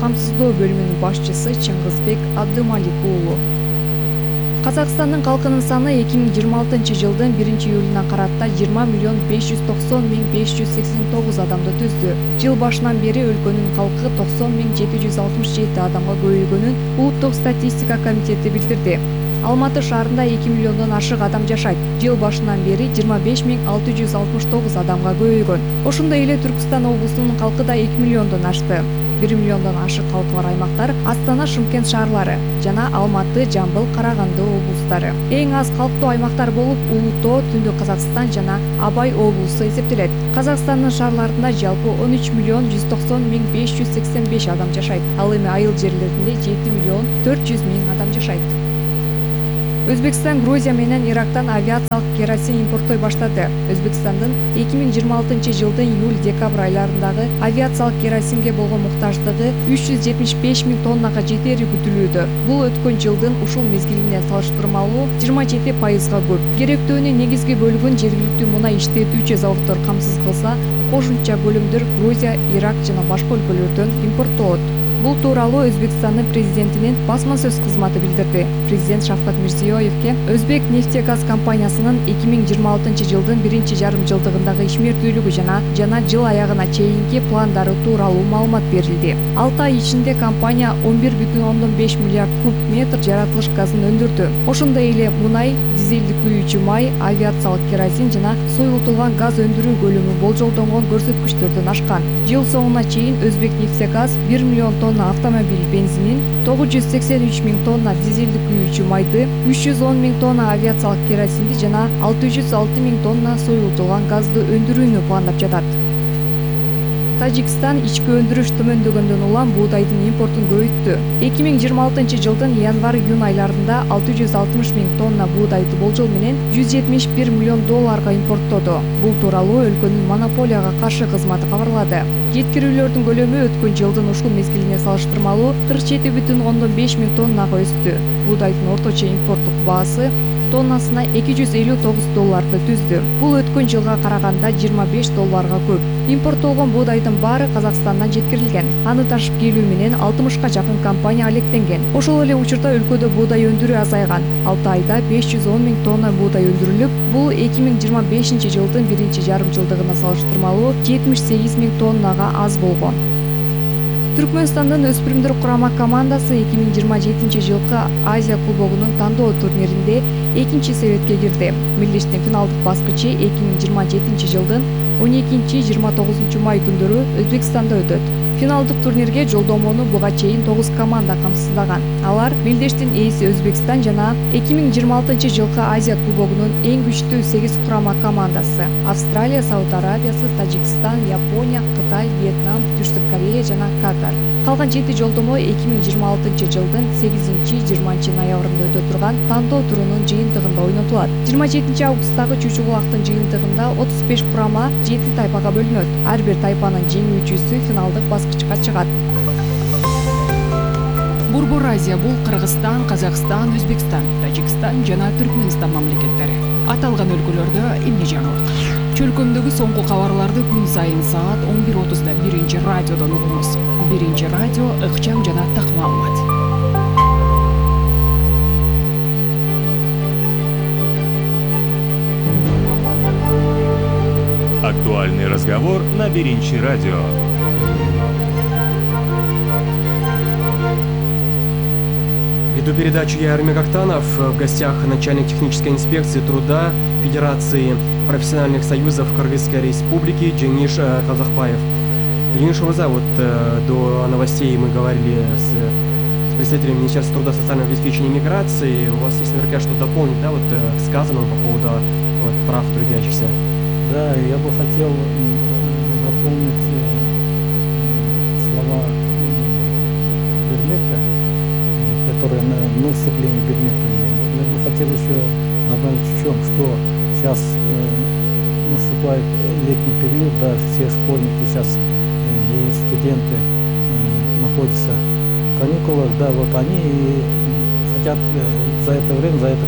камсыздоо бөлүмүнүн башчысы Чыңгызбек Абдымалик уулу. Казакстандын калкынын саны 2026-жылдын 1-июлуна карата 20.590.589 адамды түздү. Жыл башынан бери өлкөнүн калкы 90.767 адамга көбөйгөнүн Улуттук статистика комитети билдирди. Алматы шаарында 2 миллиондон ашык адам жашайт. Жыл башынан бери 25.669 адамга көбөйгөн. Ошондой эле Түркстан облусунун калкы да 2 миллиондон ашты. 1 миллиондон ашык калкы бар аймактар Астана, Шымкент шаарлары жана Алматы, Жамбыл, Караганды облустары. Эң аз калктуу аймактар болуп Улуу Тоо, Түндүк Казакстан жана Абай облусу эсептелет. Казакстандын шаарларында жалпы 13.190.585 адам жашайт. Ал эми айыл жерлеринде 7.400.000 адам жашайт. Өзбекстан Грузия менен Ирактан авиациялык керосин импорттой баштады. Өзбекстандын 2026-жылдын июль-декабрь айларындагы авиациялык керосинге болгон муктаждыгы 375.000 тоннага жетери күтүлүүдө. Бул өткөн жылдын ушул мезгилине салыштырмалуу 27% көп. Керектөөнүн негизги бөлүгүн жергиликтүү мунай иштетүүчү заводдор камсыз кылса, кошумча бөлүмдөр Грузия, Ирак жана башка өлкөлөрдөн импорттолот. Бул тууралуу Өзбекстандын президентинин басма сөз кызматы билдирди. Президент Шавкат Мирзиёевке Өзбек нефтегаз компаниясынын 2026-жылдын 1-жарымжылдыгындагы ишмердүүлүгү жана жыл аягына чейинки пландары тууралуу маалымат берилди. 6 ай ичинде компания 11,5 миллиард куб метр жаратылыш газын өндүрдү. Ошондой эле мунай, дизелдик күйүүчү май, авиациялык керосин жана суюлтулган газ өндүрүү көлөмү болжолдонгон көрсөткүчтөрдөн ашкан. Жыл соңуна чейин Өзбек нефтегаз 1 миллион тонна автомобиль бензинин, 983.000 тонна дизелдик күйүүчү майды, 310.000 тонна авиациялык керосинди жана 606.000 тонна суюлтулган газды өндүрүүнү пландап жатат. Тажикстан ички өндүрүш төмөндөгөндөн улам буудайдын импортун көбөйттү. 2026-жылдын январь-июнь айларында 660.000 тонна буудайды болжол менен $171 миллион импорттоду. Бул тууралуу өлкөнүн монополияга каршы кызматы кабарлады. Жеткирүүлөрдүн көлөмү өткөн жылдын ушул мезгилине салыштырмалуу 47,5 миң тоннага өстү. Буудайдын орточо импорттук баасы тоннасына $259 түздү. Бул өткөн жылга караганда $25 көп. Импорттолгон буудайдын баары Казакстандан жеткирилген. Аны ташып келүү менен 60га жакын компания алектенген. Ошол эле учурда өлкөдө буудай өндүрүү азайган. 6 айда 510.000 тонна буудай өндүрүлүп, бул 2025-жылдын 1-жарымжылдыгына салыштырмалуу 78.000 тоннага аз болгон. Түркмөнстандын өспүрүмдөр курама командасы 2027-жылкы Азия кубогунун тандоо турниринде 2-себетке кирди. Мелдештин финалдык баскычы 2027-жылдын 12-29 май күндөрү Өзбекстанда өтөт. Финалдык турнирге жолдомону буга чейин 9 команда камсыздаган. Алар Мелдештин ээси Өзбекстан жана 2026-жылкы Азия кубогунун эң күчтүү 8 курама командасы: Австралия, Сауд Арабиясы, Тажикстан, Япония, Кытай, Вьетнам, Түштүк Корея жана Катар. Калган 7 жолдомо 2026-жылдын 8-20 ноябрында өтө турган тандоо турунун жыйынтыгында ойнотулат. 27 августтагы чучугулактын жыйынтыгында 35 курама 7 тайпага бөлүнөт. Ар бир тайпанын жеңүүчүсү финалдык баскычка чыгат. Борбор Азия бул Кыргызстан, Казакстан, Өзбекстан, Тажикстан жана Түркмөнстан мамлекеттери. Аталган өлкөлөрдө эмне жаңылык? Чөлкөмдөгү соңку кабарларды күн сайын саат 11:30 1 радиодон угуңуз. 1 радио ыкчам жана так маалымат. Актуальный разговор на 1 радио. Веду передачу я, Армик Актанов. В гостях начальник технической инспекции труда Федерации профессиональных союзов Кыргызской Республики Джениш Казахбаев. Джениш Мурза, вот до новостей мы говорили с представителями Министерства труда, социального обеспечения и миграции. У вас есть наверняка что дополнить, да, вот к сказанному по поводу прав трудящихся? Да, я бы хотел дополнить слова Бермека, которые на вступлении Бермека. Я бы хотел еще добавить в чем, что сейчас наступает летний период, да, все школьники сейчас и студенты находятся в каникулах, да, вот они хотят за это время, за это